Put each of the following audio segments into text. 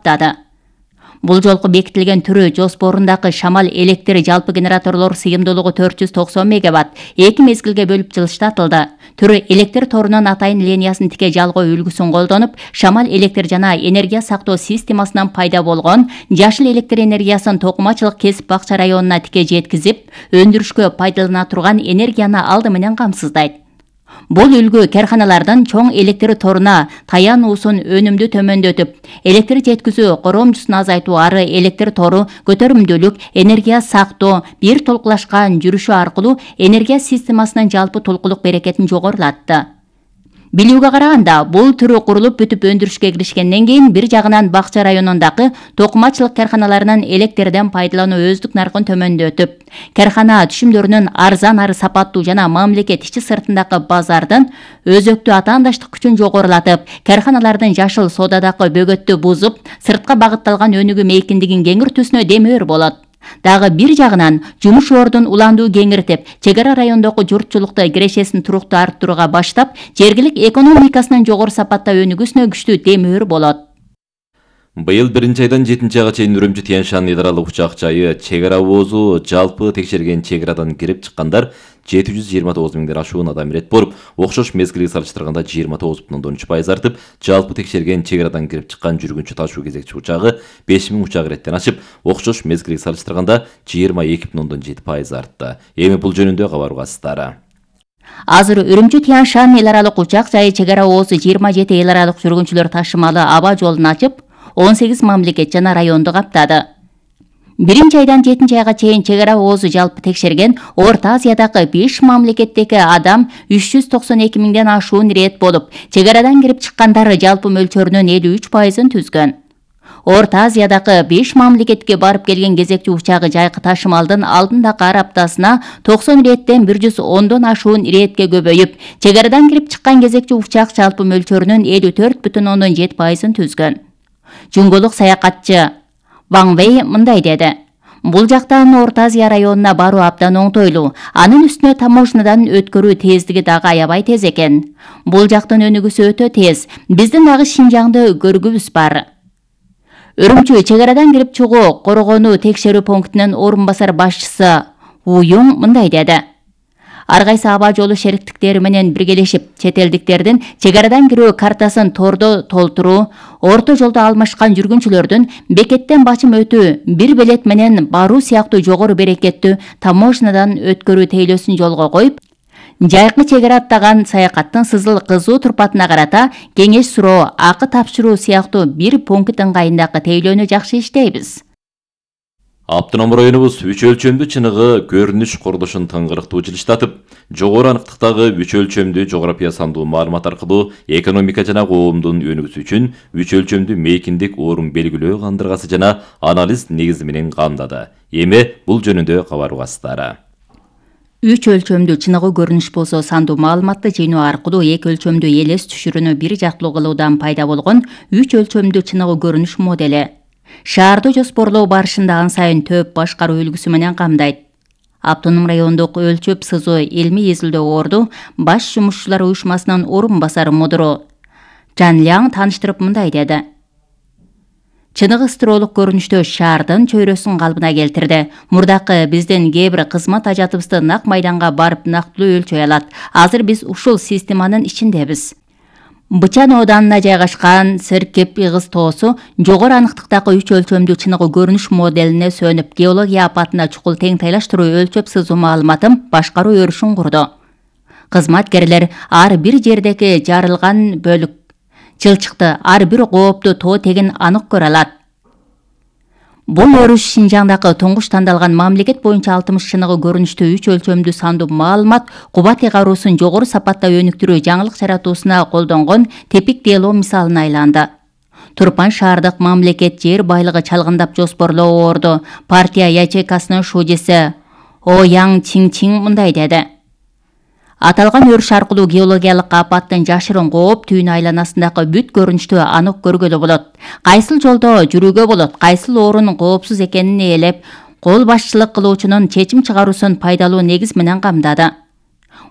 каптады. Бул жолку бекитилген түрү жоспорундагы шамал электр жалпы генераторлор сыйымдуулугу 490 мегаватт 2 мезгилге бөлүп жылыштатылды. Түрү электр торунун атайын линиясын тике жалгоо үлгүсүн колдонуп, шамал электр жана энергия сактоо системасынан пайда болгон жашыл электр энергиясын токумачылык кесип бакча районуна тике жеткизип, өндүрүшкө пайдалана турган энергияны алды менен камсыздайт. Бул үлгү карханалардын чоң электр торуна таянуусун өнүмдү төмөндөтүп, электр жеткизүү коромчусун азайтуу ары электр тору көтөрүмдүүлүк, энергия сактоо, бир толкулашкан жүрүшү аркылуу энергия системасынын жалпы толкулук берекетин жогорулатты. Билүүгө караганда, бул түрү курулуп бүтүп өндүрүшкө киришкенден кийин бир жагынан бакча районундагы токумачылык карханаларынын электрден пайдалануу өздүк наркын төмөндөтүп, кархана түшүмдөрүнүн арзан ары сапаттуу жана мамлекет ичи сыртындагы базардын өзөктүү атаандаштык күчүн жогорулатып, карханалардын жашыл соодадагы бөгөттү бузуп, сыртка багытталган өнүгүү мейкиндигин кеңиртүүсүнө демөөр болот. Дагы бир жагынан жумуш ордун уландуу кеңиртип, чек ара райондогу журтчулукта кирешесин туруктуу арттырууга баштап, жергилик экономикасынын жогору сапатта өнүгүүсүнө күчтүү демөөр болот. Быйыл 1-айдан 7-айга чейин Үрүмчү Тянь-Шань эл аралык учак жайы чек ара оозу жалпы текшерген чек арадан кирип чыккандар 729 миңден ашуун адам ирет болуп, окшош мезгилге салыштырганда 29,3% артып, жалпы текшерген чек арадан кирип чыккан жүргүнчү ташуу кезекчи учагы 5000 учак иреттен ашып, окшош мезгилге салыштырганда 22,7% артты. Эми бул жөнүндө кабар угасыздар. Азыр Үрүмчү Тянь-Шань эл аралык учак жайы чек ара оозу 27 эл аралык жүргүнчүлөр ташымалы аба жолун ачып, 18 мамлекет жана районду каптады. 1-айдан 7-айга чейин чек ара оозу жалпы текшерген Орто Азиядагы 5 мамлекеттеги адам 392 миңден ашуун ирет болуп, чек арадан кирип чыккандары жалпы мөлчөрүнүн 53%-ын түзгөн. Орто Азиядагы 5 мамлекетке барып келген кезекчи учагы жайкы ташымалдын алдындагы ар аптасына 90 иреттен 110дон ашуун иретке көбөйүп, чек арадан кирип чыккан кезекчи учак жалпы мөлчөрүнүн 54,7%-ын түзгөн. Жуңголук саякатчы Ван Вэй мындай деди: Бул жактан Орто Азия районуна баруу абдан оңтойлуу. Анын үстүнө таможнядан өткөрүү тездиги дагы аябай тез экен. Бул жактын өнүгүүсү өтө тез. Биздин дагы Шинжаңды көргүбүз бар. Үрүмчү чек арадан кирип чыгуу коргонуу текшерүү пунктунун орун басар башчысы Уюң мындай деди: Ар кайсы аба жолу шериктиктери менен биргелешип, чет элдиктердин чек арадан кирүү картасын тордо толтуруу, орто жолдо алмашкан жүргүнчүлөрдүн бекеттен бачым өтүү, бир билет менен баруу сыяктуу жогору берекеттүү таможнядан өткөрүү тейлөөсүн жолго коюп, жайкы чек ара аттаган саякаттын сызыл кызуу турпатына карата кеңеш суроо, акы тапшыруу сыяктуу бир пункт ыңгайындагы тейлөөнү жакшы иштейбиз. Автоном районубуз үч өлчөмдүү чыныгы көрүнүш курулушун тыңгырыктуу жылыштатып, жогору аныктыктагы үч өлчөмдүү жография сандуу маалымат аркылуу экономика жана коомдун өнүгүүсү үчүн үч өлчөмдүү мейкиндик орун белгилөө кандыргасы жана анализ негизи менен камдады. Эми бул жөнүндө кабар угасыздар. Үч өлчөмдүү чыныгы көрүнүш болсо сандуу маалыматты жыйноо аркылуу эки өлчөмдүү элес түшүрүүнү бир жактуу кылуудан пайда болгон үч өлчөмдүү чыныгы көрүнүш модели. Шаарды жоспорлоо барышында ан сайын төп башкаруу үлгүсү менен камдайт. Автоном райондук өлчөп сызуу илмий изилдөө орду баш жумушчулар уюшмасынын орун басары мудуру Жан Ляң тааныштырып мындай деди: Чыныгы стролук көрүнүштө шаардын чөйрөсүн калыбына келтирди. Мурдакы биздин кээ бир кызмат ажатыбызды нак майданга барып нактылуу өлчөй алат. Азыр биз ушул системанын ичиндебиз. Бычан оданына жайгашкан Серкеп Игыз тоосу жогору аныктыктагы үч өлчөмдүү чыныгы көрүнүш моделине сөнүп, геология апатына чукул тең тайлаштыруу өлчөп сызуу маалыматын башкаруу өрүшүн курду. Кызматкерлер ар бир жердеги жарылган бөлүк, чылчыкты, ар бир коопту тоо тегин анык көрө алат. Бул өрүш Шинжаңдагы туңгуч тандалган мамлекет боюнча 60 чыныгы көрүнүштүү үч өлчөмдүү сандуу маалымат кубат эгаруусын жогору сапатта өнүктүрүү жаңылык жаратуусуна колдонгон тепик дело мисалына айланды. Турпан шаардык мамлекет жер байлыгы чалгындап жоспорлоо орду партия ячейкасынын шужеси О Яң Чин мындай деди: Аталган өрүш аркылуу геологиялык апаттын жашырын кооптүүнүн айланасындагы бүт көрүнүштү анык көргөлө болот. Кайсыл жолдо жүрүүгө болот, кайсыл орун коопсуз экенин ээлеп, кол башчылык кылуучунун чечим чыгаруусун пайдалуу негиз менен камдады.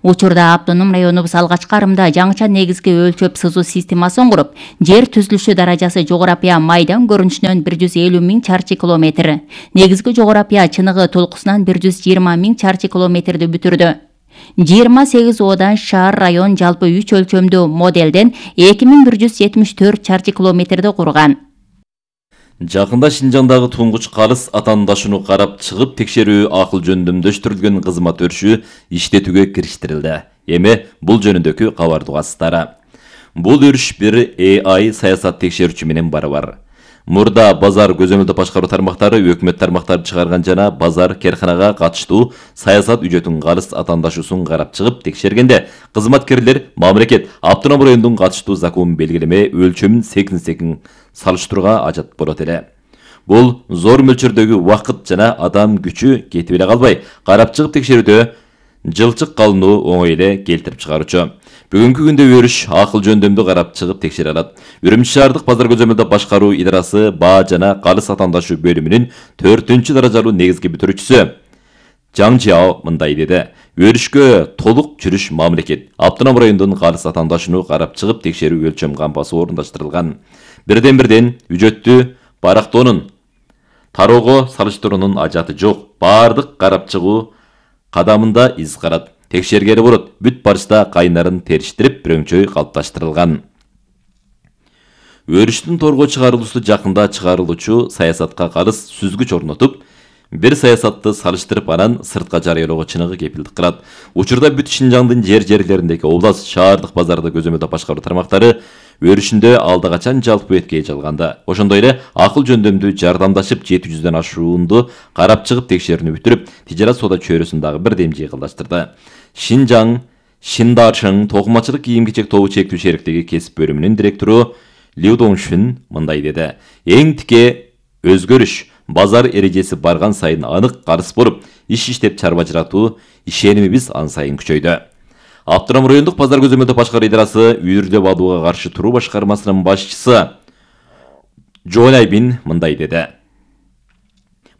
Учурда автоном районубуз алгачкы арымда жаңыча негизги өлчөп сызуу системасын куруп, жер түзүлүшү даражасы жогорапия майдан көрүнүшүнөн 150 000 чарчы километр, негизги жогорапия чыныгы толкусунан 120 000 чарчы километрди бүтүрдү. 28 одан шаар район жалпы 3 өлчөмдүү моделден 2174 чарчы километрди курган. Жакында Шинжаңдагы тунгуч карыз атаандашууну карап чыгып текшерүү акыл жөндөмдөштүрүлгөн кызмат өрүшү иштетүүгө кириштирилди. Эми бул жөнүндөгү кабарды угасыздар. Бул өрүш бир AI саясат текшерүүчү менен барабар. Мурда базар көзөмөлдөө башкаруу тармактары өкмөт тармактары чыгарган жана базар керканага катыштуу саясат үчөтүн карыз атаандашуусун карап чыгып текшергенде кызматкерлер мамлекет автоном райондун катыштуу закон белгилеме өлчөмүн секин салыштырууга ажат болот эле. Бул зор мөлчөрдөгү убакыт жана адам күчү кетип эле калбай, карап чыгып текшерүүдө жылчык калынуу оңой эле келтирип чыгаруучу. Бүгүнкү күндө өрүш акыл жөндөмдү карап чыгып текшере алат. Үрүмчү шаардык базар көзөмөлдөө башкаруу идарасы баа жана карыз атаандашуу бөлүмүнүн 4-даражалуу негизги бүтүрүүчүсү Жаң Жао мындай деди. Өрүшкө толук жүрүш мамлекет автоном райондун карыз атаандашууну карап чыгып текшерүү өлчөм кампасы орундаштырылган. Бирден үжөттү барактоонун тароого салыштыруунун ажаты жок. Баардык карап чыгуу кадамында из карат. Текшергени болот, бүт барышта кайнарын териштирип, бірөңчөй калыпташтырылган. Өрүштүн торго чыгарылуусу жакында чыгарылуучу саясатка карыз сүзгүч орнотуп, бир саясатты салыштырып анан сыртка жарыялоого чыныгы кепилдик кылат. Учурда бүт Шинжаңдын жерлериндеги область, шаардык базарды көзөмөлдөө башкаруу тармактары өрүшүндө алда качан жалпы этке жалганда. Ошондой эле акыл жөндөмдүү жардамдашып 700дөн ашуунду карап чыгып текшерүүнү бүтүрүп, тижарат соода чөйрөсүн дагы бирдем жыйгылдаштырды. Шинжаң Шиндашың токумачылык кийим-кечек тобу чектүү шериктиги кесип бөлүмүнүн директору Лю Доңшүн мындай деди. Эң тике өзгөрүш базар эрежеси барган сайын анык карыз болуп, иштеп чарба жаратуу ишенимибиз ан сайын күчөйдү. Автоном райондук базар көзөмөлдөө башкаруу идарасы үйүрдөп алууга каршы туруу башкармасынын башчысы Жолайбин мындай деди.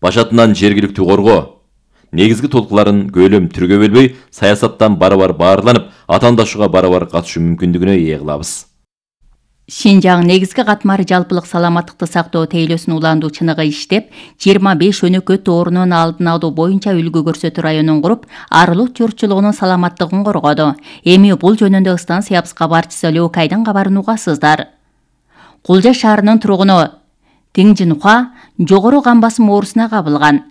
Башатынан жергиликтүү коргоо негизги толкуларын көйлөм түргө бөлбөй, саясаттан барабар баарланып, атаандашууга барабар катышуу мүмкүндүгүнө ээ кылабыз. Шинжаң негизги катмары жалпылык саламаттыкты сактоо тейлөөсүн уландуу чыныгы иштеп, 25 өнөкөт оорунун алдын алуу боюнча үлгү көрсөтүү районун куруп, арылык журтчулугунун саламаттыгын коргоду. Эми бул жөнүндө станция кабарчысы Лёкайдын кабарын угасыздар. Кулжа шаарынын тургуну Тиңжинхуа жогору кан басым оорусуна кабылган.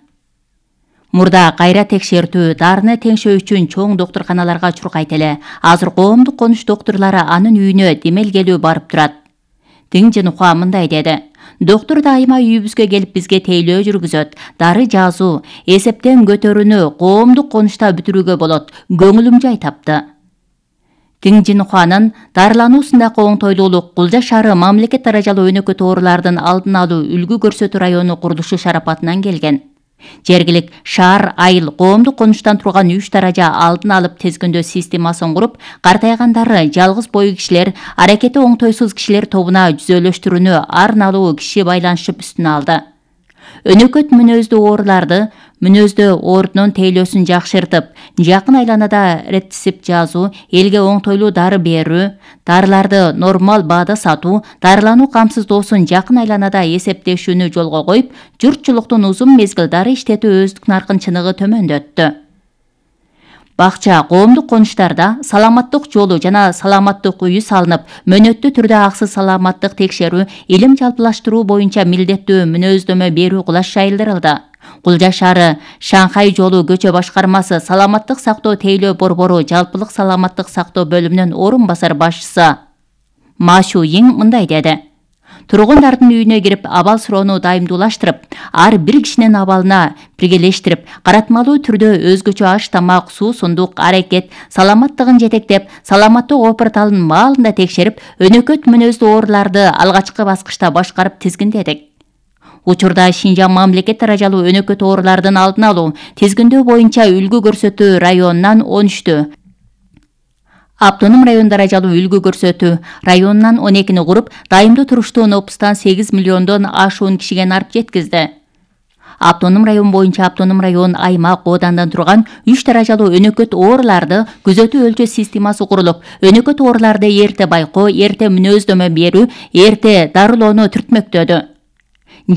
Мурда кайра текшертүү, дарыны теңшөө үчүн чоң доктурканаларга чуркайт эле. Азыр коомдук конуш доктурлары анын үйүнө демелгелүү барып турат. Тиңжинхуа мындай деди. Доктур дайыма үйүбүзгө келип бизге тейлөө жүргүзөт. Дары жазуу, эсептен көтөрүүнү коомдук конушта бүтүрүүгө болот. Көңүлүм жай тапты. Тиңжинхуанын дарылануусундагы оңтойлуулук Кулжа шаары мамлекет даражалуу өнөкөт оорулардын алдын алуу үлгү көрсөтүү району курулушу шарапатынан келген. Жергилик шаар айыл коомдук конуштан турган 3 даража алдын алып тезгөндөө системасын куруп, картайгандары, жалгыз бой кишилер, аракети оңтойсуз кишилер тобуна жүзөлөштүрүүнү арналуу киши байланышып үстүнө алды. Өнөкөт мүнөздүү ооруларды, мүнөздүү оорунун тейлөөсүн жакшыртып, жакын айланада рецепт жазуу, элге оңтойлуу дары берүү, дарыларды нормал баада сатуу, дарылануу камсыздоосун жакын айланада эсептешүүнү жолго коюп, журтчулуктун узун мезгил дары иштетүү өздүк наркын чыныгы төмөндөттү. Бакча коомдук конуштарда саламаттык жолу жана саламаттык үйү салынып, мөөнөттүү түрдө аксыз саламаттык текшерүү, илим жалпылаштыруу боюнча милдеттүү мүнөздөмө берүү кулаш жайылдырылды. Кулжа шаары Шанхай жолу көчө башкармасы саламаттык сактоо тейлөө борбору жалпылык саламаттык сактоо бөлүмүнүн орун басар башчысы Ма Шуйин мындай деди. Тургундардын үйүнө кирип, абал суроону дайымдуулаштырып, ар бир кишинин абалына биргелештирип, каратмалуу түрдө өзгөчө аш тамак, суу сундук, аракет, саламаттыгын жетектеп, саламаттык опорталын маалында текшерип, өнөкөт мүнөздүү ооруларды алгачкы баскычта башкарып тизгиндедик. Учурда Шинжаң мамлекет даражалуу өнөкөт оорулардын алдын алуу, тизгиндөө боюнча үлгү көрсөтүү районунан 13-тү, автоном район даражалуу үлгү көрсөтүү районунан 12-ни куруп, дайымдуу туруштуу нопустан 8 миллиондон ашуун кишиге нарып жеткизди. Автоном район боюнча автоном район, аймак, оодандан турган 3 даражалуу өнөкөт ооруларды күзөтүү өлчөө системасы курулуп, өнөкөт ооруларды эрте байкоо, эрте мүнөздөмө берүү, эрте дарылоону түртмөктөдү.